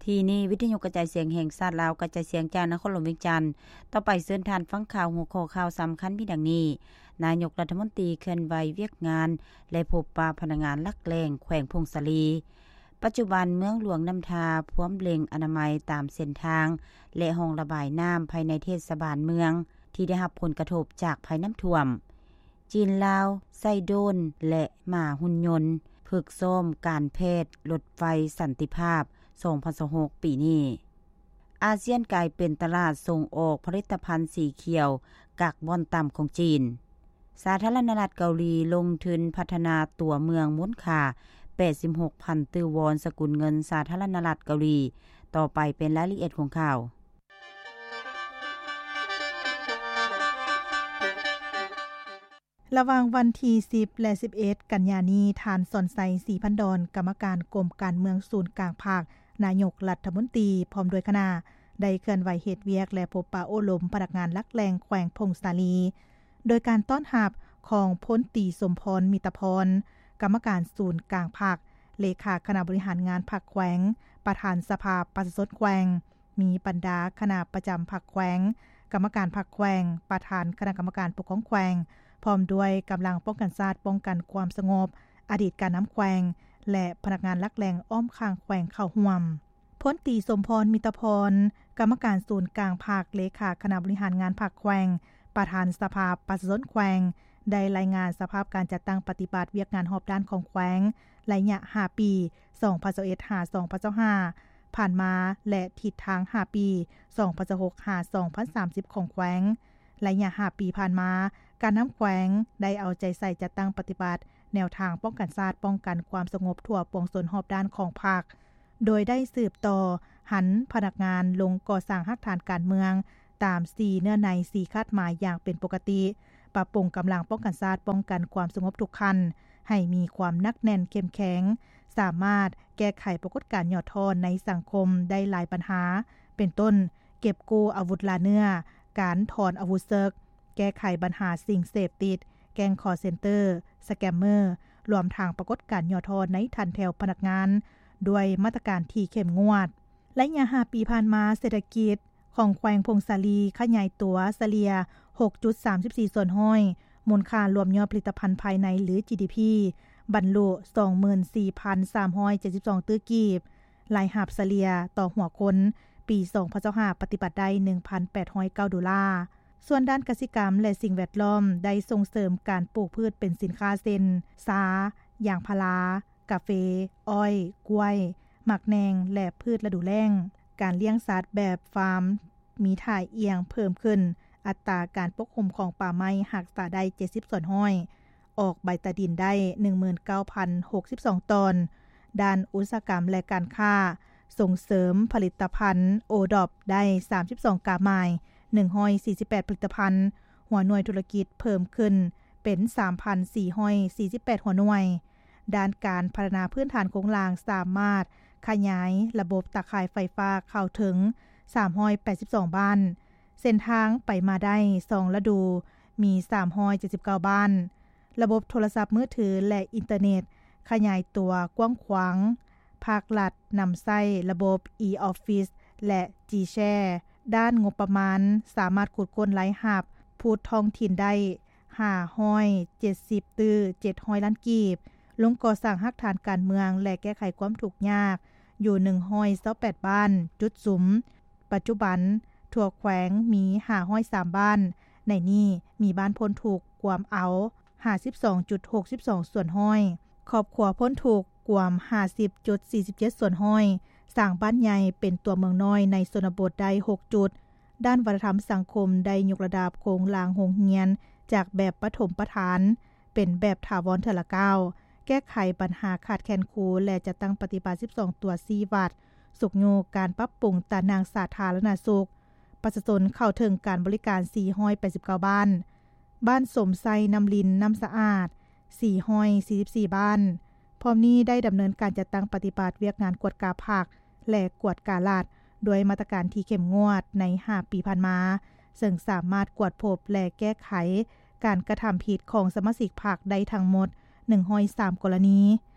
ທີ່ນີ້ ວິທະຍຸກະຈາຍສຽງແຫ່ງຊາດລາວ ກະຈາຍສຽງຈາກນະຄອນຫຼວງວຽງຈັນ. ຕໍ່ໄປເຊີນທ່ານຟັງຂ່າວ ຫົວຂໍ້ຂ່າວສຳຄັນມີດັ່ງນີ້: ນາຍົກລັດຖະມົນຕີເຄື່ອນໄຫວວຽກງານ ແລະ ພົບປະພະນັກງານຫຼັກແຫຼ່ງແຂວງຜົ້ງສາລີ. ປັດຈຸບັນເມືອງຫຼວງນ້ຳທາພວມເລັ່ງອະນາໄມຕາມເສັ້ນທາງ ແລະ ຮ່ອງລະບາຍນ້ຳພາຍໃນເທດສະບານເມືອງ ທີ່ໄດ້ຮັບຜົນກະທົບຈາກໄພນ້ຳຖ້ວມ. ຈີນ-ລາວ ໃຊ້ໂດຣນ ແລະ ໝາຫຸ່ນຍົນ ຝຶກຊ້ອມການແພດລົດໄຟສັນຕິພາບ ສອງພັນຊາວຫົກ ປີນີ້. ອາຊຽນກາຍເປັນຕະຫຼາດສົ່ງອອກຜະລິດຕະພັນສີຂຽວກາກບອນຕ່ຳຂອງຈີນ. ສາທາລະນະລັດເກົາຫຼີລົງທຶນພັດທະນາຕົວເມືອງມູນຄ່າ ແປດສິບຫົກພັນຕື້ວອນ ສະກຸນເງິນສາທາລະນະລັດເກົາຫຼີ. ຕໍ່ໄປເປັນລາຍລະອຽດຂອງຂ່າວ. ລະຫວ່າງວັນທີສິບ ແລະ ສິບເອັດ ກັນຍານີ້, ທ່ານ ສອນໄຊ ສີພັນດອນ ກຳມະການກົມການເມືອງສູນກາງພັກ ນາຍົກລັດຖະມົນຕີ ພ້ອມດ້ວຍຄະນະ ໄດ້ເຄື່ອນໄຫວເຮັດວຽກ ແລະ ພົບປະໂອ້ລົມພະນັກງານຫຼັກແຫຼ່ງແຂວງຜົ້ງສາລີ ໂດຍການຕ້ອນຮັບຂອງ ພົນຕີ ສົມພອນ ມິດຕະພອນ ກຳມະການສູນກາງພັກ, ເລຂາຄະນະບໍລິຫານງານພັກແຂວງ, ປະທານສະພາປະຊາຊົນແຂວງ, ມີບັນດາຄະນະປະຈຳພັກແຂວງ, ກຳມະການພັກແຂວງ, ປະທານຄະນະກຳມະການປົກຄອງແຂວງ, ພ້ອມດ້ວຍກຳລັງປ້ອງກັນຊາດ, ປ້ອງກັນຄວາມສະຫງົບ, ອະດີດການນຳແຂວງ ແລະ ພະນັກງານຫຼັກແຫຼ່ງອ້ອມຂ້າງແຂວງເຂົ້າຮ່ວມ. ພົນຕີ ສົມພອນ ມິດຕະພອນ ກຳມະການສູນກາງພັກ, ເລຂາຄະນະບໍລິຫານງານພັກແຂວງ, ປະທານສະພາປະຊາຊົນແຂວງ ໄດ້ລາຍງານສະພາບການຈັດຕັ້ງປະຕິບັດວຽກງານຮອບດ້ານຂອງແຂວງ ໄລຍະຫ້າປີ ສອງພັນຊາວເອັດ ຫາ ສອງພັນຊາວຫ້າ ຜ່ານມາ ແລະ ທິດທາງຫ້າປີ ສອງພັນຊາວຫົກ ຫາ ສອງພັນສາມສິບ ຂອງແຂວງ ໄລຍະຫ້າປີຜ່ານມາ, ການນຳແຂວງໄດ້ເອົາໃຈໃສ່ຈັດຕັ້ງປະຕິບັດແນວທາງປ້ອງກັນຊາດ, ປ້ອງກັນຄວາມສະຫງົບທົ່ວປວງຊົນຮອບດ້ານຂອງພັກ, ໂດຍໄດ້ສືບຕໍ່ຫັນພະນັກງານລົງກໍ່ສ້າງຮາກຖານການເມືອງຕາມສີ່ເນື້ອໃນ, ສີ່ຄາດໝາຍຢ່າງເປັນປົກກະຕິ, ປັບປຸງກຳລັງປ້ອງກັນຊາດ, ປ້ອງກັນຄວາມສະຫງົບທຸກຂັ້ນ ໃຫ້ມີຄວາມໜັກແໜ້ນເຂັ້ມແຂງ, ສາມາດແກ້ໄຂປາກົດການຫຍໍ້ທໍ້ໃນສັງຄົມໄດ້ຫຼາຍບັນຫາ, ເປັນຕົ້ນ ເກັບກູ້ອາວຸດລ່າເນື້ອ, ການຖອນອາວຸດເສິກ, ແກ້ໄຂບັນຫາສິ່ງເສບຕິດ, ແກ້ງຄໍເຊັນເຕີ, ສະແກມເມີ, ລວມທັງປາກົດການຫຍໍ້ທໍ້ໃນຖັນແຖວພະນັກງານ ດ້ວຍມາດຕະການທີ່ເຂັ້ມງວດ. ໄລຍະຫ້າປີຜ່ານມາ, ເສດຖະກິດຂອງແຂວງຜົ້ງສາລີຂະຫຍາຍຕົວສະເລ່ຍ ຫົກຈຸດສາມສິບສີ່ສ່ວນຮ້ອຍ, ມູນຄ່າລວມຍອດຜະລິດຕະພັນພາຍໃນ ຫຼື ຈີດີພີ ບັນລຸ ສອງໝື່ນສີ່ພັນສາມຮ້ອຍເຈັດສິບສອງຕື້ກີບ, ລາຍຮັບສະເລ່ຍຕໍ່ຫົວຄົນປີສອງພັນຊາວຫ້າ ປະຕິບັດໄດ້ ໜຶ່ງພັນແປດຮ້ອຍເກົ້າໂດລາ. ສ່ວນດ້ານກະສິກຳ ແລະ ສິ່ງແວດລ້ອມ ໄດ້ສົ່ງເສີມການປູກພືດເປັນສິນຄ້າເຊັ່ນ ຊາ, ຢາງພາລາ, ກາເຟ, ອ້ອຍ, ກ້ວຍ, ໝາກແໜ່ງ ແລະ ພືດລະດູແລ້ງ. ການລ້ຽງສັດແບບຟາມມີທ່າອ່ຽງເພີ່ມຂຶ້ນ, ອັດຕາການປົກຫຸ້ມຂອງປ່າໄມ້ຮັກສາໄດ້ເຈັດສິບສ່ວນຮ້ອຍ, ອອກໃບຕາດິນໄດ້ໜຶ່ງໝື່ນເກົ້າພັນຫົກສິບສອງຕອນ. ດ້ານອຸດສາຫະກຳ ແລະ ການຄ້າ, ສົ່ງເສີມຜະລິດຕະພັນໂອດອບໄດ້ສາມສິບສອງກາໝາຍ, ໜຶ່ງຮ້ອຍສີ່ສິບແປດຜະລິດຕະພັນ, ຫົວໜ່ວຍທຸລະກິດເພີ່ມຂຶ້ນເປັນສາມພັນສີ່ຮ້ອຍສີ່ສິບແປດຫົວໜ່ວຍ. ດ້ານການພັດທະນາພື້ນຖານໂຄງລ່າງ ສາມາດຂະຫຍາຍລະບົບຕາຂ່າຍໄຟຟ້າເຂົ້າເຖິງສາມຮ້ອຍແປດສິບສອງບ້ານ, ເສັ້ນທາງໄປມາໄດ້ສອງລະດູ ມີສາມຮ້ອຍເຈັດສິບເກົ້າບ້ານ, ລະບົບໂທລະສັບມືຖື ແລະ ອິນເຕີເນັດຂະຫຍາຍຕົວກວ້າງຂວາງ, ພາກລັດນຳໃຊ້ລະບົບ e-office ແລະ G-Share. ດ້ານງົບປະມານ ສາມາດຂຸດຄົ້ນລາຍຮັບພູດທ້ອງຖິ່ນໄດ້ຫ້າຮ້ອຍເຈັດສິບຕື້ເຈັດຮ້ອຍລ້ານກີບ, ລົງກໍ່ສ້າງຮາກຖານການເມືອງ ແລະ ແກ້ໄຂຄວາມທຸກຍາກຢູ່ໜຶ່ງຮ້ອຍຊາວແປດບ້ານຈຸດສຸມ. ປັດຈຸບັນທົ່ວແຂວງມີຫ້າຮ້ອຍສາມບ້ານ, ໃນນີ້ມີບ້ານພົ້ນທຸກກວມເອົາຫ້າສິບສອງຈຸດຫົກສິບສອງສ່ວນຮ້ອຍ, ຄອບຄົວພົ້ນທຸກກວມຫ້າສິບຈຸດສີ່ສິບເຈັດສ່ວນຮ້ອຍ, ສ້າງບ້ານໃຫຍ່ເປັນຕົວເມືອງນ້ອຍໃນຊົນນະບົດໄດ້ຫົກຈຸດ. ດ້ານວັດທະນະທຳສັງຄົມໄດ້ຍົກລະດັບໂຄງລ່າງໂຮງຮຽນຈາກແບບປະຖົມປະຖານເປັນແບບຖາວອນເທື່ອລະກ້າວ, ແກ້ໄຂບັນຫາຂາດແຄນຄູ ແລະ ຈັດຕັ້ງປະຕິບັດສິບສອງຕົວຊີ້ວັດ, ຊຸກຍູ້ການປັບປຸງຕາໜ່າງສາທາລະນະສຸກ, ປະຊາຊົນເຂົ້າເຖິງການບໍລິການສີ່ຮ້ອຍແປດສິບເກົ້າບ້ານ, ບ້ານສົມໄຊ, ນ້ຳລິນ, ນ້ຳສະອາດ ສີ່ຮ້ອຍສີ່ສິບສີ່ບ້ານ. ພ້ອມນີ້ໄດ້ດຳເນີນການຈັດຕັ້ງປະຕິບັດວຽກງານກວດກາພັກ ແລະ ກວດກາລັດ ດ້ວຍມາດຕະການທີ່ເຂັ້ມງວດໃນຫ້າປີຜ່ານມາ, ເຊິ່ງສາມາດກວດພົບ ແລະ ແກ້ໄຂການກະທຳຜິດຂອງສະມາຊິກພັກໄດ້ທັງໝົດໜຶ່ງຮ້ອຍສາມກໍລະນີ.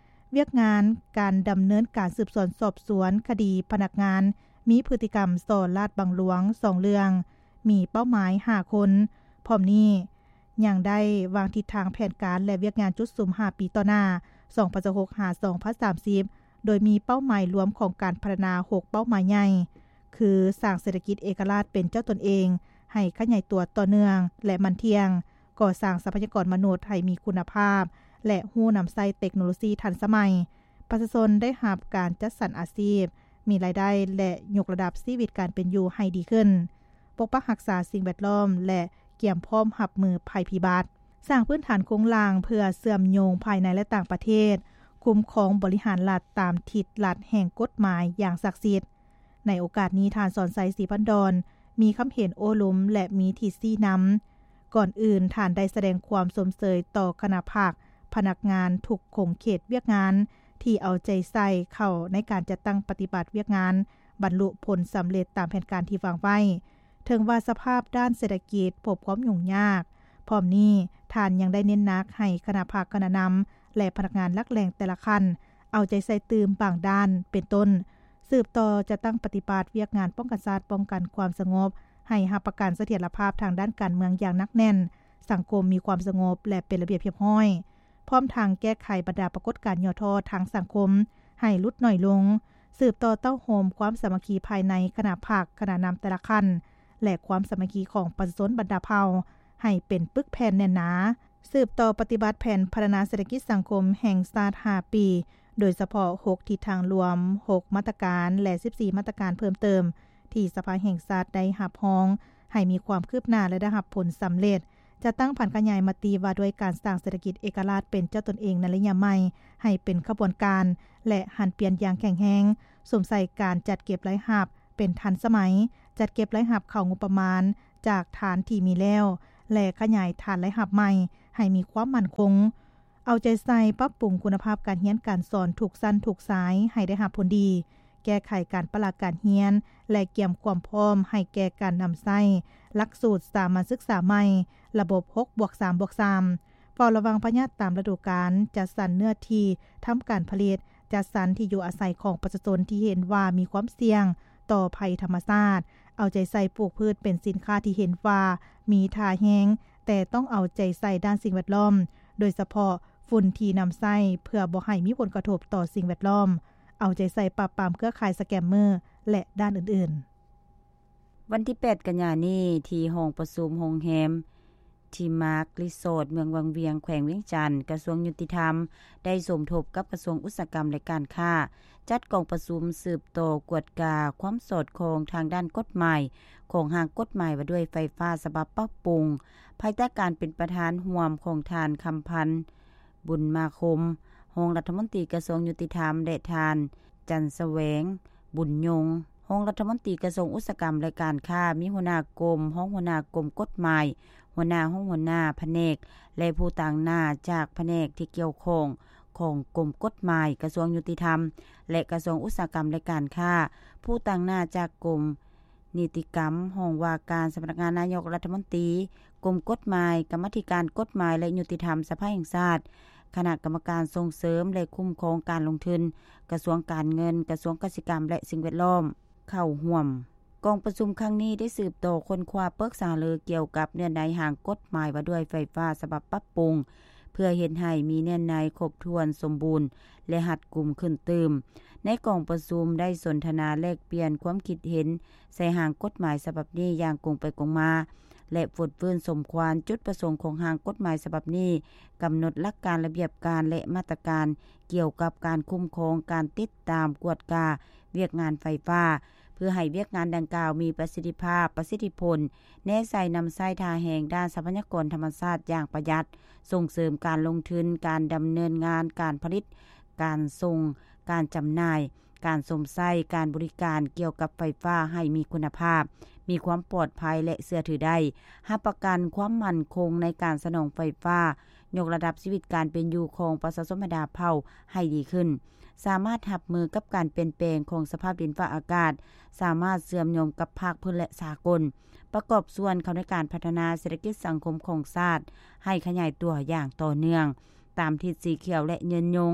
ວຽກງານການດຳເນີນການສືບສວນສອບສວນຄະດີພະນັກງານມີພຶດຕິກຳສໍ້ລາດບັງຫຼວງສອງເລື່ອງ, ມີເປົ້າໝາຍຫ້າຄົນ. ພ້ອມນີ້ຍັງໄດ້ວາງທິດທາງແຜນການ ແລະ ວຽກງານຈຸດສຸມຫ້າປີຕໍ່ໜ້າ ສອງພັນຊາວຫົກ ຫາ ສອງພັນສາມສິບ ໂດຍມີເປົ້າໝາຍລວມຂອງການພັດທະນາຫົກເປົ້າໝາຍໃຫຍ່ ຄື ສ້າງເສດຖະກິດເອກະລາດເປັນເຈົ້າຕົນເອງໃຫ້ຂະຫຍາຍຕົວຕໍ່ເນື່ອງ ແລະ ໝັ້ນທ່ຽງ, ກໍ່ສ້າງຊັບພະຍາກອນມະນຸດໃຫ້ມີຄຸນນະພາບ ແລະ ຮູ້ນຳໃຊ້ເຕັກໂນໂລຊີທັນສະໄໝ, ປະຊາຊົນໄດ້ຮັບການຈັດສັນອາຊີບ, ມີລາຍໄດ້ ແລະ ຍົກລະດັບຊີວິດການເປັນຢູ່ໃຫ້ດີຂຶ້ນ, ປົກປັກຮັກສາສິ່ງແວດລ້ອມ ແລະ ກຽມພ້ອມຮັບມືໄພພິບັດ. ສ້າງພື້ນຖານໂຄງລ່າງເພື່ອເຊື່ອມໂຍງພາຍໃນ ແລະ ຕ່າງປະເທດ, ຄຸ້ມຄອງບໍລິຫານລັດຕາມທິດລັດແຫ່ງກົດໝາຍຢ່າງສັກສິດ. ໃນໂອກາດນີ້, ທ່ານ ສອນໄຊ ສີພັນດອນ ມີຄຳເຫັນໂອ້ລົມ ແລະ ມີທິດຊີ້ນຳ. ກ່ອນອື່ນ, ທ່ານໄດ້ສະແດງຄວາມຊົມເຊີຍຕໍ່ຄະນະພັກ, ພະນັກງານທຸກຂົງເຂດວຽກງານ ທີ່ເອົາໃຈໃສ່ເຂົ້າໃນການຈັດຕັ້ງປະຕິບັດວຽກງານ, ບັນລຸຜົນສຳເລັດຕາມແຜນການທີ່ວາງໄວ້. ເຖິງວ່າສະພາບດ້ານເສດຖະກິດພົບຄວາມຫຍຸ້ງຍາກ, ພ້ອມນີ້ທ່ານຍັງໄດ້ເນັ້ນໜັກໃຫ້ຄະນະພັກ, ຄະນະນຳ ແລະ ພະນັກງານຫຼັກແຫຼ່ງແຕ່ລະຂັ້ນ ເອົາໃຈໃສ່ຕື່ມບາງດ້ານ ເປັນຕົ້ນ ສືບຕໍ່ຈັດຕັ້ງປະຕິບັດວຽກງານປ້ອງກັນຊາດ, ປ້ອງກັນຄວາມສະຫງົບ, ໃຫ້ຮັບປະກັນສະຖຽນລະພາບທາງດ້ານການເມືອງຢ່າງໜັກແໜ້ນ, ສັງຄົມມີຄວາມສະຫງົບ ແລະ ເປັນລະບຽບຮຽບຮ້ອຍ, ພ້ອມທັງແກ້ໄຂບັນດາປາກົດການຫຍໍ້ທໍ້ທາງສັງຄົມໃຫ້ຫຼຸດໜ້ອຍລົງ, ສືບຕໍ່ເຕົ້າໂຮມຄວາມສາມັກຄີພາຍໃນຄະນະພັກ, ຄະນະນຳແຕ່ລະຂັ້ນ ແລະ ຄວາມສາມັກຄີຂອງປະຊາຊົນບັນດາເຜົ່າໃຫ້ເປັນປຶກແຜ່ນແໜ້ນໜາ, ສືບຕໍ່ປະຕິບັດແຜນພັດທະນາເສດຖະກິດສັງຄົມແຫ່ງຊາດຫ້າປີ, ໂດຍສະເພາະຫົກທິດທາງລວມ, ຫົກມາດຕະການ ແລະ ສິບສີ່ມາດຕະການເພີ່ມເຕີມ ທີ່ສະພາແຫ່ງຊາດໄດ້ຮັບຮອງໃຫ້ມີຄວາມຄືບໜ້າ ແລະ ໄດ້ຮັບຜົນສຳເລັດ. ຈັດຕັ້ງຜັນຂະຫຍາຍມະຕິວ່າດ້ວຍການສ້າງເສດຖະກິດເອກະລາດເປັນເຈົ້າຕົນເອງໃນໄລຍະໃໝ່ໃຫ້ເປັນຂະບວນການ ແລະ ຫັນປ່ຽນຢ່າງແຂງແຮງ, ສຸມໃສ່ການຈັດເກັບລາຍຮັບເປັນທັນສະໄໝ, ຈັດເກັບລາຍຮັບເຂົ້າງົບປະມານຈາກຖານທີ່ມີແລ້ວ ແລະ ຂະຫຍາຍຖານລາຍຮັບໃໝ່ໃຫ້ມີຄວາມໝັ້ນຄົງ. ເອົາໃຈໃສ່ປັບປຸງຄຸນນະພາບການຮຽນການສອນທຸກຊັ້ນທຸກສາຍໃຫ້ໄດ້ຮັບຜົນດີ, ແກ້ໄຂການປະລະການຮຽນ ແລະ ກຽມຄວາມພ້ອມໃຫ້ແກ່ການນຳໃຊ້ຫຼັກສູດສາມັນສຶກສາໃໝ່, ລະບົບຫົກບວກສາມບວກສາມ, ເຝົ້າລະວັງພະຍາດຕາມລະດູການ, ຈັດສັນເນື້ອທີ່ທຳການຜະລິດ, ຈັດສັນທີ່ຢູ່ອາໄສຂອງປະຊາຊົນທີ່ເຫັນວ່າມີຄວາມສ່ຽງຕໍ່ໄພທຳມະຊາດ, ເອົາໃຈໃສ່ປູກພືດເປັນສິນຄ້າທີ່ເຫັນວ່າມີທ່າແຮງ, ແຕ່ຕ້ອງເອົາໃຈໃສ່ດ້ານສິ່ງແວດລ້ອມ, ໂດຍສະເພາະຝຸ່ນທີ່ນຳໃຊ້ ເພື່ອບໍ່ໃຫ້ມີຜົນກະທົບຕໍ່ສິ່ງແວດລ້ອມ, ເອົາໃຈໃສ່ປາບປາມເຄືອຂ່າຍສະແກມເມີ ແລະ ດ້ານອື່ນໆ. ວັນທີແປດ ກັນຍານີ້ ທີ່ຫ້ອງປະຊຸມໂຮງແຮມ ທີ່ມາກຣີສອດ ເມືອງວັງວຽງ ແຂວງວຽງຈັນ, ກະຊວງຍຸຕິທຳ ໄດ້ສົມທົບກັບກະຊວງອຸດສາຫະກຳ ແລະ ການຄ້າ ຈັດກອງປະຊຸມສືບຕໍ່ກວດກາຄວາມສອດຄ່ອງທາງດ້ານກົດໝາຍ ຂອງຮ່າງກົດໝາຍວ່າດ້ວຍໄຟຟ້າສະບັບປັບປຸງ ພາຍໃຕ້ການເປັນປະທານຮ່ວມຂອງທ່ານ ຄຳພັນ ບຸນມາຄົມ ຮອງລັດຖະມົນຕີກະຊວງຍຸຕິທຳ ແລະ ທ່ານ ຈັນສະແຫວງ ບຸນຍົງ ຮອງລັດຖະມົນຕີກະຊວງອຸດສາຫະກຳ ແລະ ການຄ້າ, ມີຫົວໜ້າກົມ, ຮອງຫົວໜ້າກົມກົດໝາຍ, ຫົວໜ້າຫ້ອງ, ຫົວໜ້າພະແນກ ແລະ ຜູ້ຕາງໜ້າຈາກພະແນກທີ່ກ່ຽວຂ້ອງຂອງກົມກົດໝາຍ, ກະຊວງຍຸຕິທຳ ແລະ ກະຊວງອຸດສາຫະກຳ ແລະ ການຄ້າ, ຜູ້ຕາງໜ້າຈາກກົມ ນິຕິກຳ, ຫ້ອງວ່າການສຳນັກງານນາຍົກລັດຖະມົນຕີ, ກົມກົດໝາຍ, ກຳມາທິການກົດໝາຍ ແລະ ຍຸຕິທຳສະພາແຫ່ງຊາດ, ຄະນະກຳມະການສົ່ງເສີມ ແລະ ຄຸ້ມຄອງການລົງທຶນ, ກະຊວງການເງິນ, ກະຊວງກະສິກຳ ແລະ ສິ່ງແວດລ້ອມ ເຂົ້າຮ່ວມ. ກອງປະຊຸມຄັ້ງນີ້ໄດ້ສືບຕໍ່ຄົ້ນຄວ້າປຶກສາຫາລືກ່ຽວກັບເນື້ອໃນຮ່າງກົດໝາຍວ່າດ້ວຍໄຟຟ້າສະບັບປັບປຸງ ເພື່ອເຮັດໃຫ້ມີເນື້ອໃນຄົບຖ້ວນສົມບູນ ແລະ ຮັດກຸມຂຶ້ນຕື່ມ. ໃນກອງປະຊຸມໄດ້ສົນທະນາແລກປ່ຽນຄວາມຄິດເຫັນໃສ່ຮ່າງກົດໝາຍສະບັບນີ້ຢ່າງກົງໄປກົງມາ ແລະ ຟົດຟື້ນສົມຄວານ. ຈຸດປະສົງຂອງຮ່າງກົດໝາຍສະບັບນີ້ ກຳນົດຫຼັກການ, ລະບຽບການ ແລະ ມາດຕະການກ່ຽວກັບການຄຸ້ມຄອງ, ການຕິດຕາມ, ກວດກາວຽກງານໄຟຟ້າ ເພື່ອໃຫ້ວຽກງານດັ່ງກ່າວມີປະສິດທິພາບ, ປະສິດທິຜົນ, ແນໃສ່ນຳໃຊ້ທ່າແຮງດ້ານຊັບພະຍາກອນທຳມະຊາດຢ່າງປະຢັດ, ສົ່ງເສີມການລົງທຶນ, ການດຳເນີນງານການຜະລິດ, ການສົ່ງ, ການຈຳໜ່າຍ, ການຊົມໃຊ້, ການບໍລິການກ່ຽວກັບໄຟຟ້າໃຫ້ມີຄຸນນະພາບ, ມີຄວາມປອດໄພ ແລະ ເຊື່ອຖືໄດ້, ຮັບປະກັນຄວາມໝັ້ນຄົງໃນການສະໜອງໄຟຟ້າ, ຍົກລະດັບຊີວິດການເປັນຢູ່ຂອງປະຊາຊົນບັນດາເຜົ່າໃຫ້ດີຂຶ້ນ, ສາມາດຮັບມືກັບການປ່ຽນແປງຂອງສະພາບດິນຟ້າອາກາດ, ສາມາດເຊື່ອມໂຍງກັບພາກພື້ນ ແລະ ສາກົນ, ປະກອບສ່ວນເຂົ້າໃນການພັດທະນາເສດຖະກິດສັງຄົມຂອງຊາດໃຫ້ຂະຫຍາຍຕົວຢ່າງຕໍ່ເນື່ອງ ຕາມທິດສີຂຽວ ແລະ ຍືນຍົງ.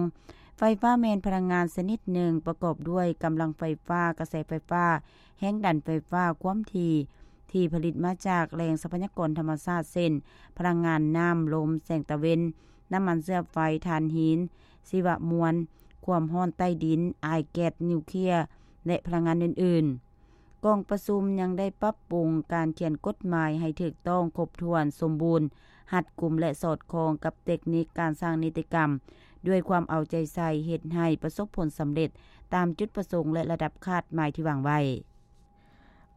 ໄຟຟ້າແມ່ນພະລັງງານຊະນິດໜຶ່ງ ປະກອບດ້ວຍກຳລັງໄຟຟ້າ, ກະແສໄຟຟ້າ, ແຮງດັນໄຟຟ້າ, ຄວາມຖີ່ ທີ່ຜະລິດມາຈາກແຫຼ່ງຊັບພະຍາກອນທຳມະຊາດ ເຊັ່ນ ພະລັງງານນ້ຳ, ລົມ, ແສງຕາເວັນ, ນ້ຳມັນເຊື້ອໄຟ, ຖ່ານຫີນ, ຊີວະມວນ, ຄວາມຮ້ອນໃຕ້ດິນ, ອາຍແກັສນິວເຄຍ ແລະ ພະລັງງານອື່ນໆ. ກອງປະຊຸມຍັງໄດ້ປັບປຸງການຂຽນກົດໝາຍໃຫ້ຖືກຕ້ອງ, ຄົບຖ້ວນ, ສົມບູນ, ຮັດກຸມ ແລະ ສອດຄ່ອງກັບເຕັກນິກການສ້າງນິຕິກຳ ດ້ວຍຄວາມເອົາໃຈໃສ່ ເຮັດໃຫ້ປະສົບຜົນສຳເລັດຕາມຈຸດປະສົງ ແລະ ລະດັບຄາດໝາຍທີ່ວາງໄວ້.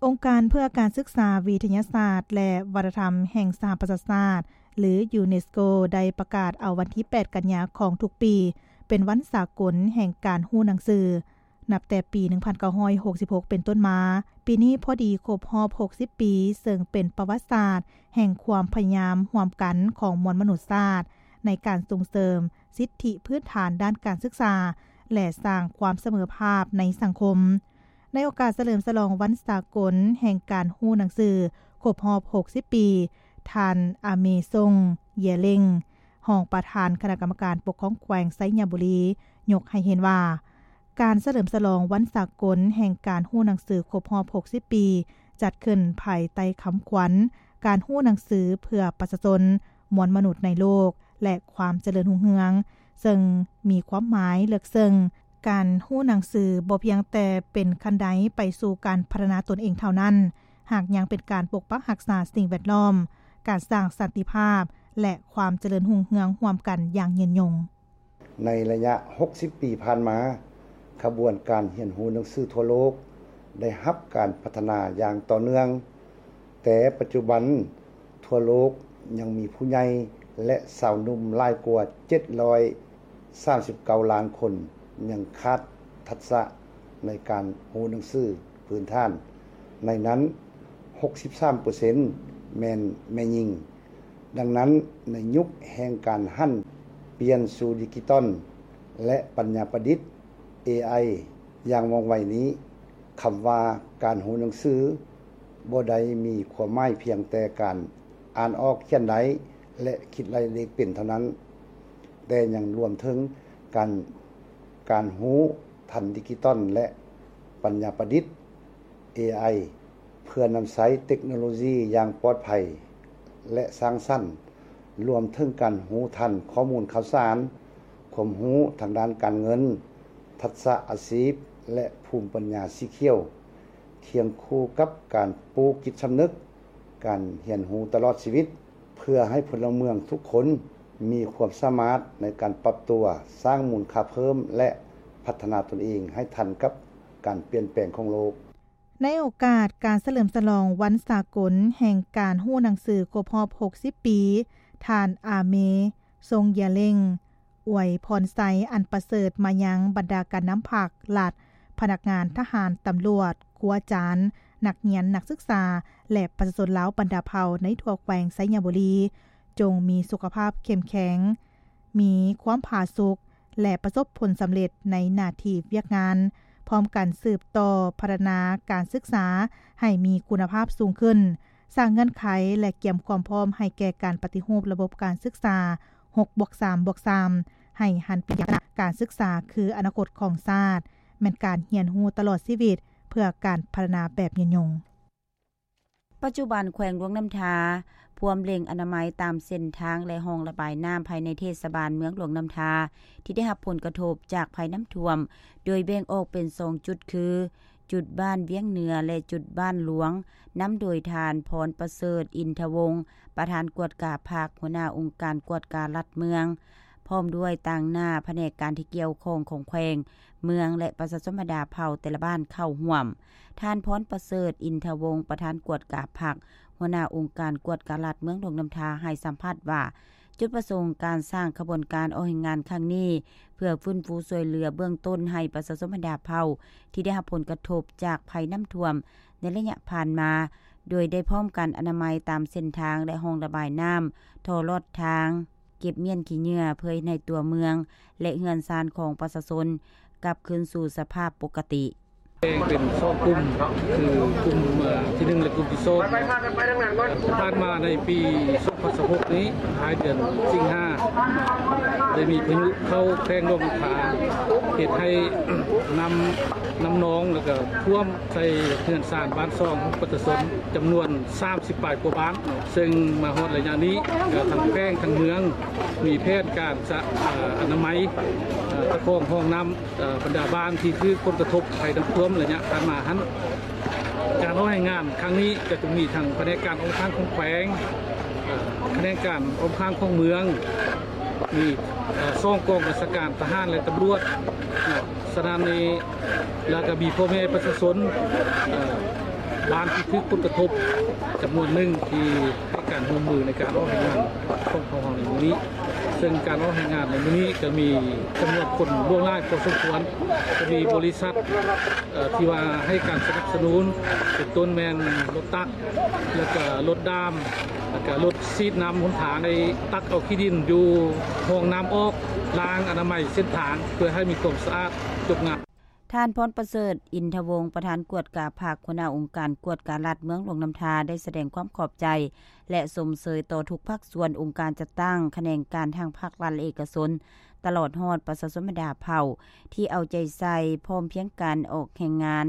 ອົງການເພື່ອການສຶກສາ, ວິທະຍາສາດ ແລະ ວັດທະນະທຳແຫ່ງສະຫະປະຊາຊາດ ຫຼື ຢູເນສໂກ ໄດ້ປະກາດເອົາວັນທີແປດ ກັນຍາຂອງທຸກປີ ເປັນວັນສາກົນແຫ່ງການຮູ້ໜັງສື. ນັບແຕ່ປີໜຶ່ງພັນເກົ້າຮ້ອຍຫົກສິບຫົກເປັນຕົ້ນມາ, ປີນີ້ພໍດີຄົບຮອບຫົກສິບປີ, ເຊິ່ງເປັນປະຫວັດສາດແຫ່ງຄວາມພະຍາຍາມຮ່ວມກັນຂອງມວນມະນຸດຊາດ ໃນການສົ່ງເສີມສິດທິພື້ນຖານດ້ານການສຶກສາ ແລະ ສ້າງຄວາມສະເໝີພາບໃນສັງຄົມ. ໃນໂອກາດສະເຫຼີມສະຫຼອງວັນສາກົນແຫ່ງການຮູ້ໜັງສືຄົບຮອບຫົກສິບປີ, ທ່ານ ອາເມ ຊົງ ເຢຍເລັງ ຮອງປະທານຄະນະກຳມະການປົກຄອງແຂວງໄຊຍະບູລີ ຍົກໃຫ້ເຫັນວ່າ ການສະເຫຼີມສະຫຼອງວັນສາກົນແຫ່ງການຮູ້ໜັງສືຄົບຮອບຫົກສິບປີ ຈັດຂຶ້ນພາຍໃຕ້ຄຳຂວັນ ການຮູ້ໜັງສືເພື່ອປະຊາຊົນ, ມວນມະນຸດໃນໂລກ ແລະ ຄວາມຈະເລີນຮຸ່ງເຮືອງ, ເຊິ່ງມີຄວາມໝາຍເລິກເຊິ່ງ. ການຮູ້ໜັງສືບໍ່ພຽງແຕ່ເປັນຂັ້ນໄດໄປສູ່ການພັດທະນາຕົນເອງເທົ່ານັ້ນ, ຫາກຍັງເປັນການປົກປັກຮັກສາສິ່ງແວດລ້ອມ, ການສ້າງສັນຕິພາບ ແລະ ຄວາມຈະເລີນຮຸ່ງເຮືອງຮ່ວມກັນຢ່າງຍືນຍົງ. ໃນໄລຍະຫົກສິບປີຜ່ານມາ, ຂະບວນການຮຽນຮູ້ໜັງສືທົ່ວໂລກໄດ້ຮັບການພັດທະນາຢ່າງຕໍ່ເນື່ອງ, ແຕ່ປັດຈຸບັນທົ່ວໂລກຍັງມີຜູ້ໃຫຍ່ ແລະ ຊາວໜຸ່ມຫຼາຍກວ່າເຈັດຮ້ອຍສາມສິບເກົ້າລ້ານຄົນຍັງຂາດທັກສະໃນການຮູ້ໜັງສືພື້ນຖານ, ໃນນັ້ນຫົກສິບສາມເປີເຊັນແມ່ນແມ່ຍິງ. ດັ່ງນັ້ນ, ໃນຍຸກແຫ່ງການຫັນປ່ຽນສູ່ດິຈິຕອນ ແລະ ປັນຍາປະດິດ ເອໄອ ຢ່າງວ່ອງໄວນີ້, ຄຳວ່າການຮູ້ໜັງສືບໍ່ໄດ້ມີຄວາມໝາຍພຽງແຕ່ການອ່ານອອກ, ຂຽນໄດ້ ແລະ ຄິດໄລ່ເລກເປັນເທົ່ານັ້ນ, ແຕ່ຍັງລວມເຖິງການ, ການຮູ້ທັນດິຈິຕອນ ແລະ ປັນຍາປະດິດ ເອໄອ ເພື່ອນຳໃຊ້ເຕັກໂນໂລຢີຢ່າງປອດໄພ ແລະ ສ້າງສັນ, ລວມເຖິງການຮູ້ທັນຂໍ້ມູນຂ່າວສານ, ຄວາມຮູ້ທາງດ້ານການເງິນ, ທັກສະອາຊີບ ແລະ ພູມປັນຍາສີຂຽວ, ຄຽງຄູ່ກັບການປູກຈິດສຳນຶກ, ການຮຽນຮູ້ຕະຫຼອດຊີວິດ, ເພື່ອໃຫ້ພົນລະເມືອງທຸກຄົນມີຄວາມສາມາດໃນການປັບຕົວ, ສ້າງມູນຄ່າເພີ່ມ ແລະ ພັດທະນາຕົນເອງໃຫ້ທັນກັບການປ່ຽນແປງຂອງໂລກ. ໃນໂອກາດການສະເຫຼີມສະຫຼອງວັນສາກົນແຫ່ງການຮູ້ໜັງສືຄົບຮອບຫົກສິບປີ, ທ່ານ ອາເມ ຊົງຢາເລັງ ອວຍພອນໄຊອັນປະເສີດມາຍັງບັນດາການນຳພັກ, ລັດ, ພະນັກງານ, ທະຫານ, ຕຳຫຼວດ, ຄູອາຈານ, ນັກຮຽນ, ນັກສຶກສາ ແລະ ປະຊາຊົນລາວບັນດາເຜົ່າໃນທົ່ວແຂວງໄຊຍະບູລີ, ຈົ່ງມີສຸຂະພາບເຂັ້ມແຂງ, ມີຄວາມຜາສຸກ ແລະ ປະສົບຜົນສຳເລັດໃນໜ້າທີ່ວຽກງານ, ພ້ອມກັນສືບຕໍ່ພັດທະນາການສຶກສາໃຫ້ມີຄຸນນະພາບສູງຂຶ້ນ, ສ້າງເງື່ອນໄຂ ແລະ ກຽມຄວາມພ້ອມໃຫ້ແກ່ການປະຕິຮູບລະບົບການສຶກສາ ຫົກບວກສາມບວກສາມ ໃຫ້ຫັນເປັນຢ່າງ ການສຶກສາຄືອະນາຄົດຂອງຊາດ, ແມ່ນການຮຽນຮູ້ຕະຫຼອດຊີວິດເພື່ອການພັດທະນາແບບຍືນຍົງ. ປັດຈຸບັນແຂວງຫຼວງນ້ຳທາພວມເລັ່ງອະນາໄມຕາມເສັ້ນທາງ ແລະ ຮ່ອງລະບາຍນ້ຳພາຍໃນເທດສະບານເມືອງຫຼວງນ້ຳທາ ທີ່ໄດ້ຮັບຜົນກະທົບຈາກໄພນ້ຳຖ້ວມ ໂດຍແບ່ງອອກເປັນສອງຈຸດຄື ຈຸດບ້ານວຽງເໜືອ ແລະ ຈຸດບ້ານຫຼວງ, ນຳໂດຍທ່ານ ພອນປະເສີດ ອິນທະວົງ ປະທານກວດກາພັກ, ຫົວໜ້າອົງການກວດກາລັດເມືອງ, ພ້ອມດ້ວຍຕາງໜ້າພະແນກການທີ່ກ່ຽວຂ້ອງຂອງແຂວງ, ເມືອງ ແລະ ປະຊາຊົນບັນດາເຜົ່າແຕ່ລະບ້ານເຂົ້າຮ່ວມ. ທ່ານ ພອນປະເສີດ ອິນທະວົງ ປະທານກວດກາພັກ, ຫົວໜ້າອົງການກວດກາລັດເມືອງຫຼວງນ້ຳທາ ໃຫ້ສຳພາດວ່າ ຈຸດປະສົງການສ້າງຂະບວນການອອກແຮງງານຄັ້ງນີ້ ເພື່ອຟື້ນຟູຊ່ວຍເຫຼືອເບື້ອງຕົ້ນໃຫ້ປະຊາຊົນບັນດາເຜົ່າທີ່ໄດ້ຮັບຜົນກະທົບຈາກໄພນ້ຳຖ້ວມໃນໄລຍະຜ່ານມາ, ໂດຍໄດ້ພ້ອມກັນອະນາໄມຕາມເສັ້ນທາງ ແລະ ຮ່ອງລະບາຍນ້ຳ, ທໍ່ລອດທາງ, ເກັບມ້ຽນຂີ້ເຫຍື້ອ ເພື່ອເຮັດໃຫ້ຕົວເມືອງ ແລະ ເຮືອນຊານຂອງປະຊາຊົນກັບຄືນສູ່ສະພາບປົກກະຕິ. ແບ່ງເປັນສອງກຸ່ມ ຄືກຸ່ມ ເອີ່ ທີໜຶ່ງ ແລະ ກຸ່ມທີສອງ ຜ່ານມາໃນປີສອງ ຮອດຊາວຫົກນີ້ ທ້າຍເດືອນສິງຫາ ໄດ້ມີພາຍຸເຂົ້າແຂວງຫຼວງນ້ຳທາ ເຮັດໃຫ້ນ້ຳ ນ້ຳນອງ ແລ້ວກໍຖ້ວມໃສ່ເຮືອນຊານບ້ານຊ່ອງຂອງປະຊາຊົນ ຈຳນວນສາມສິບປາຍກວ່າບ້ານເນາະ. ເຊິ່ງມາຮອດໄລຍະນີ້ ກໍທັງແຂວງທັງເມືອງ ມີແຜນການສະ ເອີ ອະນາໄມ ເອີ ຕະກອງຮ່ອງນ້ຳ ເອີ ບັນດາບ້ານທີ່ຖືກຜົນກະທົບໄພນ້ຳຖ້ວມໄລຍະຜ່ານມາຫັ້ນ. ການອອກແຮງງານຄັ້ງນີ້ ກໍຈະມີທັງພະແນກການອ້ອມຂ້າງຂອງແຂວງ ເອີ ພະແນກການອ້ອມຂ້າງຂອງເມືອງ ມີ ເອີ ສອງກອງບັນຊາການທະຫານ ແລະ ຕຳຫຼວດເນາະ. ສະນັ້ນນີ້ ແລ້ວກໍມີພໍ່ແມ່ປະຊາຊົນ ເອີ ບ້ານທີ່ຖືກຜົນກະທົບຈຳນວນໜຶ່ງ ທີ່ໃຫ້ການຮ່ວມມືໃນການອອກແຮງງານຂອງພວກເຮົາໃນມື້ນີ້. ເຊິ່ງການອອກແຮງງານໃນມື້ນີ້ ກໍມີຈຳນວນຄົນຫຼວງຫຼາຍພໍສົມຄວນ, ກໍມີບໍລິສັດ ເອີ ທີ່ວ່າໃຫ້ການສະໜັບສະໜູນ ເປັນຕົ້ນແມ່ນລົດຕັກ ແລ້ວກະລົດດ້າມ ແລ້ວກະລົດສີດນ້ຳຫົນທາງ ໄດ້ຕັກເອົາຂີ້ດິນຢູ່ຮ່ອງນ້ຳອອກ, ລ້າງອະນາໄມເສັ້ນທາງ ເພື່ອໃຫ້ມີຄວາມສະອາດຈົບງາມ. ທ່ານ ພອນປະເສີດ ອິນທະວົງ ປະທານກວດກາພັກ, ຫົວໜ້າອົງການກວດກາລັດເມືອງຫຼວງນ້ຳທາ ໄດ້ສະແດງຄວາມຂອບໃຈ ແລະ ຊົມເຊີຍຕໍ່ທຸກພາກສ່ວນ, ອົງການຈັດຕັ້ງ, ຂະແໜງການທາງພາກລັດ ແລະ ເອກະຊົນ, ຕະຫຼອດຮອດປະຊາຊົນບັນດາເຜົ່າ ທີ່ເອົາໃຈໃສ່ພ້ອມພຽງກັນອອກແຮງງານ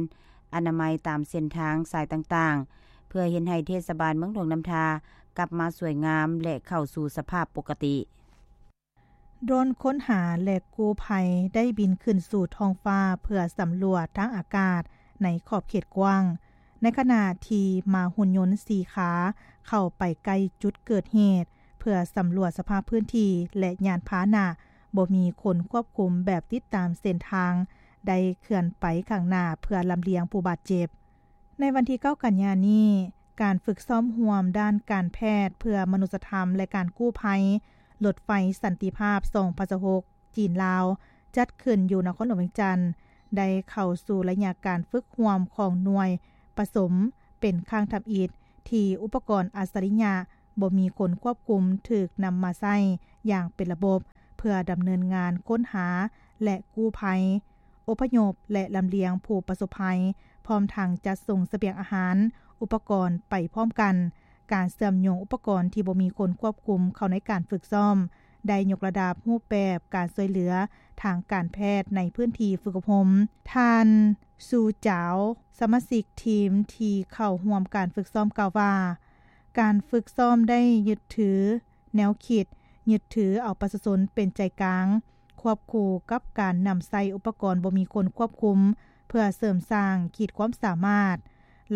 ອະນາໄມຕາມເສັ້ນທາງສາຍຕ່າງໆ ເພື່ອເຮັດໃຫ້ເທດສະບານເມືອງຫຼວງນ້ຳທາກັບມາສວຍງາມ ແລະ ເຂົ້າສູ່ສະພາບປົກກະຕິ. ໂດຣນຄົ້ນຫາ ແລະ ກູ້ໄພ ໄດ້ບິນຂຶ້ນສູ່ທ້ອງຟ້າເພື່ອສຳຫຼວດທາງອາກາດໃນຂອບເຂດກວ້າງ, ໃນຂະນະທີ່ມ້າຫຸ່ນຍົນສີ່ຂາເຂົ້າໄປໃກ້ຈຸດເກີດເຫດ ເພື່ອສຳຫຼວດສະພາບພື້ນທີ່ ແລະ ຍານພາຫະນະບໍ່ມີຄົນຄວບຄຸມແບບຕິດຕາມເສັ້ນທາງ ໄດ້ເຄື່ອນໄປຂ້າງໜ້າເພື່ອລຳລຽງຜູ້ບາດເຈັບ. ໃນວັນທີເກົ້າກັນຍານີ້, ການຝຶກຊ້ອມຮ່ວມດ້ານການແພດເພື່ອມະນຸດສະທຳ ແລະ ການກູ້ໄພ ລົດໄຟສັນຕິພາບ ສອງພັນຊາວຫົກ ຈີນ-ລາວ ຈັດຂຶ້ນຢູ່ນະຄອນຫຼວງວຽງຈັນ ໄດ້ເຂົ້າສູ່ໄລຍະການຝຶກຮ່ວມຂອງໜ່ວຍປະສົມ ເປັນຄັ້ງທຳອິດທີ່ອຸປະກອນອັດສະລິຍະບໍ່ມີຄົນຄວບຄຸມຖືກນຳມາໃຊ້ຢ່າງເປັນລະບົບ ເພື່ອດຳເນີນງານຄົ້ນຫາ ແລະ ກູ້ໄພ, ອົບພະຍົບ ແລະ ລຳລຽງຜູ້ປະສົບໄພ, ພ້ອມທັງຈັດສົ່ງສະບຽງອາຫານ, ອຸປະກອນໄປພ້ອມກັນ. ການເຊື່ອມໂຍງອຸປະກອນທີ່ບໍ່ມີຄົນຄວບຄຸມເຂົ້າໃນການຝຶກຊ້ອມ ໄດ້ຍົກລະດັບຮູບແບບການຊ່ວຍເຫຼືອທາງການແພດໃນພື້ນທີ່ຝຶກອົບຮົມ. ທ່ານ ຊູ ຈາວ ສະມາຊິກທີມທີ່ເຂົ້າຮ່ວມການຝຶກຊ້ອມກ່າວວ່າ, ການຝຶກຊ້ອມໄດ້ຍຶດຖືແນວຄິດ, ຍຶດຖືເອົາປະຊາຊົນເປັນໃຈກາງ, ຄວບຄູ່ກັບການນຳໃຊ້ອຸປະກອນບໍ່ມີຄົນຄວບຄຸມ ເພື່ອເສີມສ້າງຂີດຄວາມສາມາດ.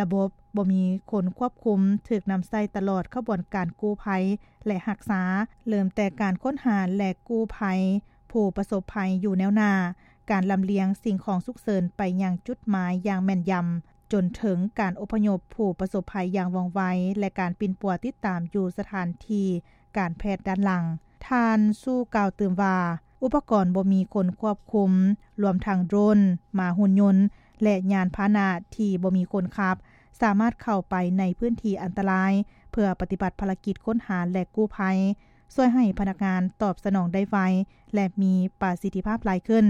ລະບົບບໍ່ມີຄົນຄວບຄຸມຖືກນຳໃຊ້ຕະຫຼອດຂະບວນການກູ້ໄພ ແລະ ຮັກສາ, ເລີ່ມແຕ່ການຄົ້ນຫາ ແລະ ກູ້ໄພຜູ້ປະສົບໄພຢູ່ແນວໜ້າ, ການລຳລຽງສິ່ງຂອງສຸກເສີນໄປຍັງຈຸດໝາຍຢ່າງແມ່ນຢຳ, ຈົນເຖິງການອົບພະຍົບຜູ້ປະສົບໄພຢ່າງວ່ອງໄວ ແລະ ການປິ່ນປົວຕິດຕາມຢູ່ສະຖານທີ່ການແພດດ້ານຫຼັງ. ທ່ານ ຊູ ກ່າວຕື່ມວ່າ, ອຸປະກອນບໍ່ມີຄົນຄວບຄຸມ, ລວມທັງໂດຣນ, ມ້າຫຸ່ນຍົນ ແລະ ຍານພາຫະນະທີ່ບໍ່ມີຄົນຂັບ, ສາມາດເຂົ້າໄປໃນພື້ນທີ່ອັນຕະລາຍ ເພື່ອປະຕິບັດພາລະກິດຄົ້ນຫາ ແລະ ກູ້ໄພ, ຊ່ວຍໃຫ້ພະນັກງານຕອບສະໜອງໄດ້ໄວ ແລະ ມີປະສິດທິພາບຫຼາຍຂຶ້ນ.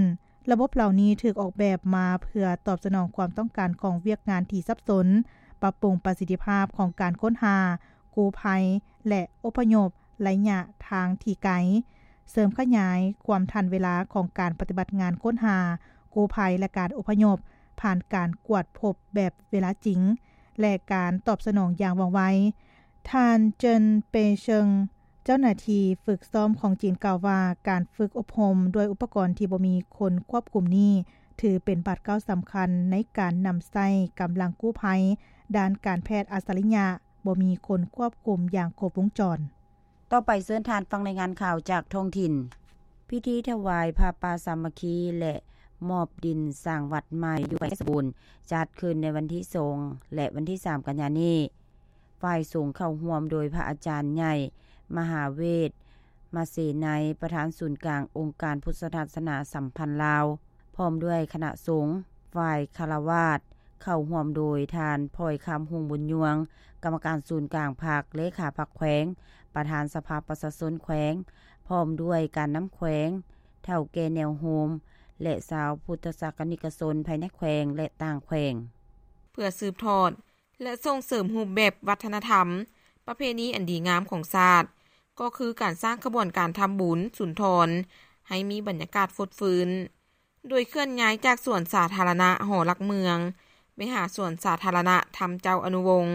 ລະບົບເຫຼົ່ານີ້ຖືກອອກແບບມາເພື່ອຕອບສະໜອງຄວາມຕ້ອງການຂອງວຽກງານທີ່ສັບສົນ, ປັບປຸງປະສິດທິພາບຂອງການຄົ້ນຫາ, ກູ້ໄພ ແລະ ອົບພະຍົບໄລຍະທາງທີ່ໄກ, ເສີມຂະຫຍາຍຄວາມທັນເວລາຂອງການປະຕິບັດງານຄົ້ນຫາ, ກູ້ໄພ ແລະ ການອົບພະຍົບ ຜ່ານການກວດພົບແບບເວລາຈິງ ແລະ ການຕອບສະໜອງຢ່າງວ່ອງໄວ. ທ່ານ ເຈີນ ເປເຊີງ ເຈົ້າໜ້າທີ່ຝຶກຊ້ອມຂອງຈີນກ່າວວ່າ, ການຝຶກອົບຮົມດ້ວຍອຸປະກອນທີ່ບໍ່ມີຄົນຄວບຄຸມນີ້ ຖືເປັນບາດກ້າວສຳຄັນໃນການນຳໃຊ້ກຳລັງກູ້ໄພດ້ານການແພດອັດສະລິຍະ ບໍ່ມີຄົນຄວບຄຸມຢ່າງຄົບວົງຈອນ. ຕໍ່ໄປເຊີນທ່ານຟັງລາຍງານຂ່າວຈາກທ້ອງຖິ່ນ. ພິທີຖວາຍຜ້າປ່າສາມັກຄີ ແລະ ມອບດິນສ້າງວັດໃໝ່ຢູ່ແຂວງໄຊສົມບູນ ຈັດຂຶ້ນໃນວັນທີສອງ ແລະ ວັນທີສາມ ກັນຍານີ້. ຝ່າຍສົງເຂົ້າຮ່ວມໂດຍພະອາຈານໃຫຍ່ ມະຫາເວດ ມະເສໄນ ປະທານສູນກາງອົງການພຸດທະສາສະໜາສຳພັນລາວ ພ້ອມດ້ວຍຄະນະສົງ. ຝ່າຍຄາລະວາດເຂົ້າຮ່ວມໂດຍທ່ານ ພອຍຄຳ ຫົງບຸນຍວງ ກຳມະການສູນກາງພັກ, ເລຂາພັກແຂວງ, ປະທານສະພາປະຊາຊົນແຂວງ, ພ້ອມດ້ວຍການນຳແຂວງ, ເຖົ້າແກ່ແນວໂຮມ ແລະ ຊາວພຸດທະສາກະນິກະຊົນພາຍໃນແຂວງ ແລະ ຕ່າງແຂວງ. ເພື່ອສືບທອດ ແລະ ສົ່ງເສີມຮູບແບບວັດທະນະທຳ, ປະເພນີອັນດີງາມຂອງຊາດ, ກໍຄືການສ້າງຂະບວນການທຳບຸນສຸນທອນ ໃຫ້ມີບັນຍາກາດຟົດຟື້ນ ໂດຍເຄື່ອນຍ້າຍຈາກສວນສາທາລະນະຫໍຫຼັກເມືອງ ໄປຫາສວນສາທາລະນະທຳເຈົ້າອະນຸວົງ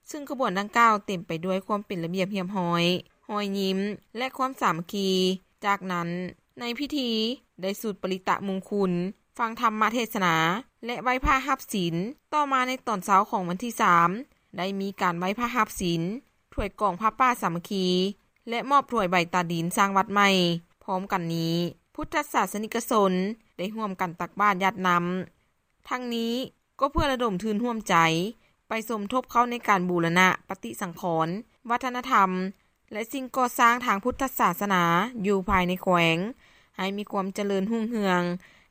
ຊຶ່ງຂະບວນດັ່ງກ່າວເຕັມໄປດ້ວຍຄວາມເປັນລະບຽບຮຽບຮ້ອຍ, ຮອຍຍິ້ມ ແລະ ຄວາມສາມັກຄີ. ຈາກນັ້ນ, ໃນພິທີໄດ້ສູດປະລິຕະມຸງຄຸນ, ຟັງທຳມະເທດສະໜາ ແລະ ໄຫວ້ພະຮັບສິນ. ຕໍ່ມາໃນຕອນເຊົ້າຂອງວັນທີສາມ ໄດ້ມີການໄຫວ້ພະຮັບສິນ, ຖວາຍກອງຜ້າປ່າສາມັກຄີ ແລະ ມອບຖວາຍໃບຕາດິນສ້າງວັດໃໝ່. ພ້ອມກັນນີ້, ພຸດທະສາສະນິກະຊົນໄດ້ຮ່ວມກັນຕັກບາດຢາດນ້ຳ. ທັງນີ້ກໍເພື່ອລະດົມທຶນຮ່ວມໃຈ ໄປສົມທົບເຂົ້າໃນການບູລະນະປະຕິສັງຂອນ ວັດທະນະທຳ ແລະ ສິ່ງກໍ່ສ້າງທາງພຸດທະສາສະໜາຢູ່ພາຍໃນແຂວງ ໃຫ້ມີຄວາມຈະເລີນຮຸ່ງເຮືອງ,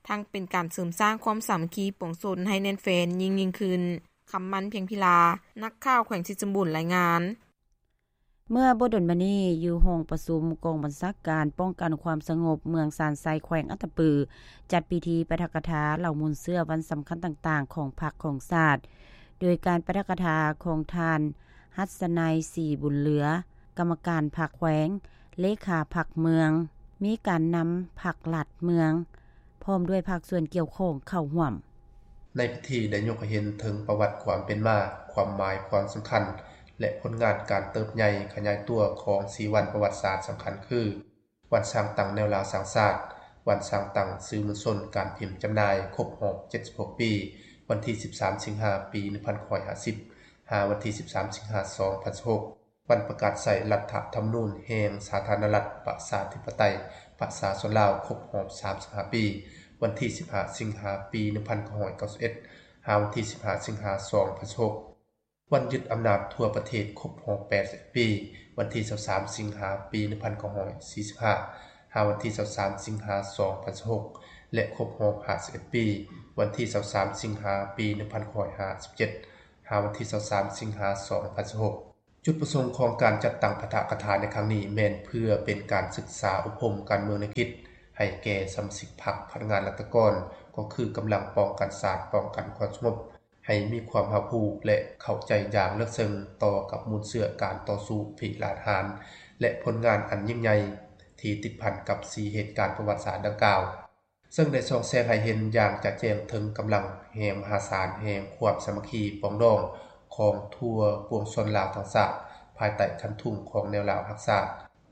ທັງເປັນການເສີມສ້າງຄວາມສາມັກຄີປວງຊົນໃຫ້ແໜ້ນແຟ້ນຍິ່ງໆຂຶ້ນ. ຄຳໝັ້ນ ພຽງພິລາ, ນັກຂ່າວແຂວງໄຊສົມບູນ ລາຍງານ. ເມື່ອບໍ່ດົນມານີ້, ຢູ່ຫ້ອງປະຊຸມກອງບັນຊາການປ້ອງກັນຄວາມສະຫງົບເມືອງຊານໄຊ ແຂວງອັດຕະປື ຈັດພິທີປາຖະກະຖາເຫຼົ່າມູນເຊື້ອວັນສຳຄັນຕ່າງໆຂອງພັກຂອງຊາດ, ໂດຍການປາຖະກະຖາຂອງທ່ານ ຫັດສະໄນ ສີບຸນເຫຼືອ ກຳມະການພັກແຂວງ, ເລຂາພັກເມືອງ, ມີການນຳພັກລັດເມືອງ ພ້ອມດ້ວຍພາກສ່ວນກ່ຽວຂ້ອງເຂົ້າຮ່ວມ. ໃນພິທີໄດ້ຍົກໃຫ້ເຫັນເຖິງປະຫວັດຄວາມເປັນມາ, ຄວາມໝາຍຄວາມສຳຄັນ ແລະ ຜົນງານການເຕີບໃຫຍ່ຂະຫຍາຍຕົວຂອງສີ່ວັນປະຫວັດສາດສຳຄັນຄື ວັນສ້າງຕັ້ງແນວລາວສ້າງຊາດ, ວັນສ້າງຕັ້ງສື່ມວນຊົນການພິມຈຳໜ່າຍຄົບຮອບເຈັດສິບຫົກປີ ວັນທີສິບສາມ ສິງຫາ ປີໜຶ່ງພັນເກົ້າຮ້ອຍຫ້າສິບ ຫາວັນທີສິບສາມ ສິງຫາ ສອງພັນສິບຫົກ, ວັນປະກາດໃຊ້ລັດຖະທຳມະນູນແຫ່ງສາທາລະນະລັດ ປະຊາທິປະໄຕ ປະຊາຊົນລາວ ຄົບຮອບສາມສິບຫ້າປີ ວັນທີສິບຫ້າ ສິງຫາ ປີໜຶ່ງພັນເກົ້າຮ້ອຍເກົ້າສິບເອັດ ຫາວັນທີສິບຫ້າ ສິງຫາ ສອງພັນສິບຫົກ, ວັນຍຶດອຳນາດທົ່ວປະເທດຄົບຮອບແປດສິບເອັດປີ ວັນທີຊາວສາມ ສິງຫາ ປີໜຶ່ງພັນເກົ້າຮ້ອຍສີ່ສິບຫ້າ ຫາວັນທີຊາວສາມ ສິງຫາ ສອງພັນສິບຫົກ ແລະ ຄົບຮອບຫ້າສິບເອັດປີ ວັນທີຊາວສາມ ສິງຫາ ປີໜຶ່ງພັນເກົ້າຮ້ອຍຫ້າສິບເຈັດ ຫາວັນທີຊາວສາມ ສິງຫາ ສອງພັນສິບຫົກ. ຈຸດປະສົງຂອງການຈັດຕັ້ງປາຖະກະຖາໃນຄັ້ງນີ້ ແມ່ນເພື່ອເປັນການສຶກສາອົບຮົມການເມືອງແນວຄິດໃຫ້ແກ່ສະມາຊິກພັກ, ພະນັກງານລັດຖະກອນ, ກໍຄືກຳລັງປ້ອງກັນຊາດ, ປ້ອງກັນຄວາມສະຫງົບ, ໃຫ້ມີຄວາມຮັບຮູ້ ແລະ ເຂົ້າໃຈຢ່າງເລິກເຊິ່ງຕໍ່ກັບມູນເຊື້ອການຕໍ່ສູ້ພິລາດຫານ ແລະ ຜົນງານອັນຍິ່ງໃຫຍ່ທີ່ຕິດພັນກັບສີ່ເຫດການປະຫວັດສາດດັ່ງກ່າວ. ເຊິ່ງໄດ້ສ່ອງແສງໃຫ້ເຫັນຢ່າງຈະແຈ້ງເຖິງກຳລັງແຮງມະຫາສານແຫ່ງຄວາມສາມັກຄີປອງດອງຂອງທົ່ວປວງຊົນລາວທັງຊາດ ພາຍໃຕ້ຄັນທຸງຂອງແນວລາວຮັກຊາດ,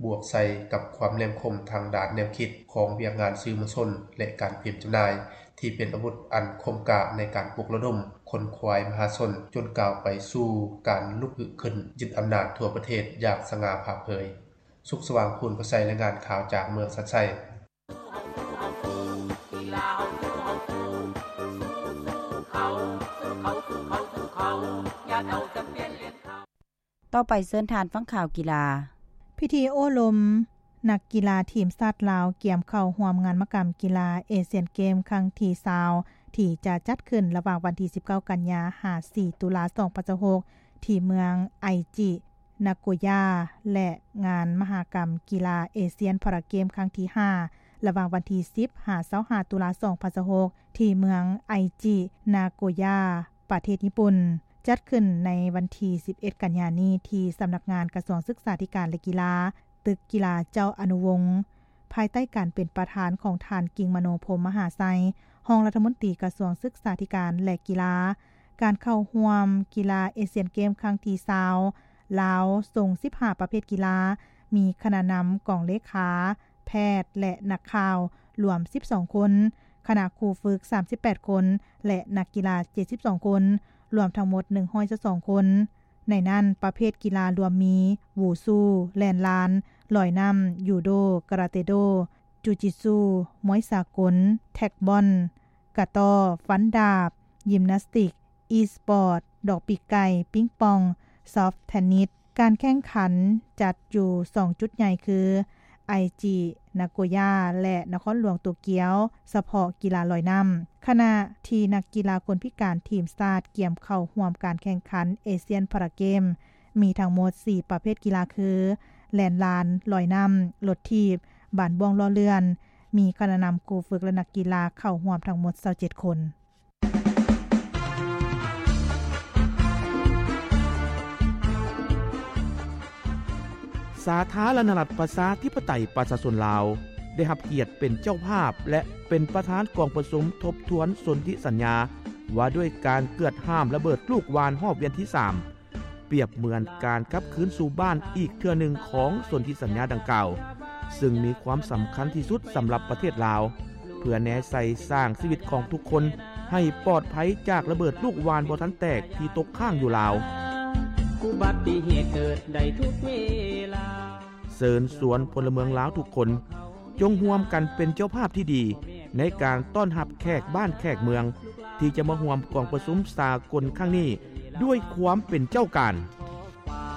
ບວກໃສ່ກັບຄວາມແຫຼມຄົມທາງດ້ານແນວຄິດຂອງວຽກງານສື່ມວນຊົນ ແລະ ການພິມຈຳໜ່າຍ ທີ່ເປັນອາວຸດອັນຄົມກ້າໃນການປຸກລະດົມຂົນຂວາຍມະຫາຊົນ ຈົນກ້າວໄປສູ່ການລຸກຮືຂຶ້ນຍຶດອຳນາດທົ່ວປະເທດຢ່າງສະຫງ່າຜ່າເຜີຍ. ສຸກສະຫວ່າງ ພູນປະໄຊ ລາຍງານຂ່າວຈາກເມືອງຊານໄຊ. ຕໍ່ໄປເຊີນທ່ານຟັງຂ່າວກິລາ. ພິທີໂອ້ລົມນັກກິລາທີມຊາດລາວກຽມເຂົ້າຮ່ວມງານມະກຳກິລາເອຊຽນເກມຄັ້ງທີຊາວ ທີ່ຈະຈັດຂຶ້ນລະຫວ່າງວັນທີສິບເກົ້າ ກັນຍາ ຫາ ສີ່ ຕຸລາ ສອງພັນຊາວຫົກ ທີ່ເມືອງໄອຈິ ນາໂກຢາ ແລະ ງານມະຫາກຳກິລາເອຊຽນພາຣາເກມຄັ້ງທີຫ້າ ລະຫວ່າງວັນທີສິບ ຫາ ຊາວຫ້າ ຕຸລາ ສອງພັນຊາວຫົກ ທີ່ເມືອງໄອຈິ ນາໂກຢາ ປະເທດຍີ່ປຸ່ນ, ຈັດຂຶ້ນໃນວັນທີສິບເອັດ ກັນຍານີ້ ທີ່ສຳນັກງານກະຊວງສຶກສາທິການ ແລະ ກິລາ, ຕຶກກິລາເຈົ້າອະນຸວົງ, ພາຍໃຕ້ການເປັນປະທານຂອງທ່ານ ກິງມະໂນ ພົມມະຫາໄຊ, ຮອງລັດຖະມົນຕີກະຊວງສຶກສາທິການ ແລະ ກິລາ. ການເຂົ້າຮ່ວມກິລາເອຊຽນເກມຄັ້ງທີຊາວ ລາວສົ່ງສິບຫ້າປະເພດກິລາ, ມີຄະນະນຳກອງເລຂາ, ແພດ ແລະ ນັກຂ່າວ ລວມສິບສອງຄົນ, ຄະນະຄູຝຶກສາມສິບແປດຄົນ ແລະ ນັກກິລາເຈັດສິບສອງຄົນ, ລວມທັງໝົດໜຶ່ງຮ້ອຍຊາວສອງຄົນ. ໃນນັ້ນປະເພດກິລາລວມມີ ວູຊູ, ແລ່ນລານ, ລອຍນ້ຳ, ຢູໂດ, ກາຣາເຕໂດ, ຈູຈິດຊູ, ມວຍສາກົນ, ແທັກບອນ, ກະຕໍ້, ຟັນດາບ, ຢິມນາສຕິກ, ອີສປອດ, ດອກປີກໄກ່, ປິງປອງ, ຊອບເທນນິສ. ການແຂ່ງຂັນຈັດຢູ່ສອງຈຸດໃຫຍ່ຄື ໄອຈິ ນາໂກຢາ ແລະ ນະຄອນຫຼວງໂຕກຽວ ສະເພາະກິລາລອຍນ້ຳ, ຂະນະທີ່ນັກກິລາຄົນພິການທີມຊາດກຽມເຂົ້າຮ່ວມການແຂ່ງຂັນເອຊຽນພາຣາເກມ ມີທັງໝົດສີ່ປະເພດກິລາຄື ແລ່ນລານ, ລອຍນ້ຳ, ລົດຖີບ, ບານບ້ວງລໍ້ເລື່ອນ, ມີຄະນະນຳຄູຝຶກ ແລະ ນັກກິລາເຂົ້າຮ່ວມທັງໝົດຊາວເຈັດຄົນ. ສາທາລະນະລັດ ປະຊາທິປະໄຕ ປະຊາຊົນລາວ ໄດ້ຮັບກຽດເປັນເຈົ້າພາບ ແລະ ເປັນປະທານກອງປະຊຸມທົບທວນສົນທິສັນຍາ ວ່າດ້ວຍການເກືອດຫ້າມລະເບີດລູກຫວ່ານຮອບວຽນທີສາມ ປຽບເໝືອນການກັບຄືນສູ່ບ້ານອີກເທື່ອໜຶ່ງຂອງສົນທິສັນຍາດັ່ງກ່າວ, ຊຶ່ງມີຄວາມສຳຄັນທີ່ສຸດສຳລັບປະເທດລາວ, ເພື່ອແນໃສ່ສ້າງຊີວິດຂອງທຸກຄົນໃຫ້ປອດໄພຈາກລະເບີດລູກຫວ່ານບໍ່ທັນແຕກທີ່ຕົກຄ້າງຢູ່ລາວ. ອຸບັດຕິເຫດເກີດໄດ້ທຸກເວລາ. ເຊີນຊວນພົນລະເມືອງລາວທຸກຄົນ ຈົ່ງຮ່ວມກັນເປັນເຈົ້າພາບທີ່ດີໃນການຕ້ອນຮັບແຂກບ້ານແຂກເມືອງ ທີ່ຈະມາຮ່ວມກອງປະຊຸມສາກົນຄັ້ງນີ້ດ້ວຍຄວາມເປັນເຈົ້າການ.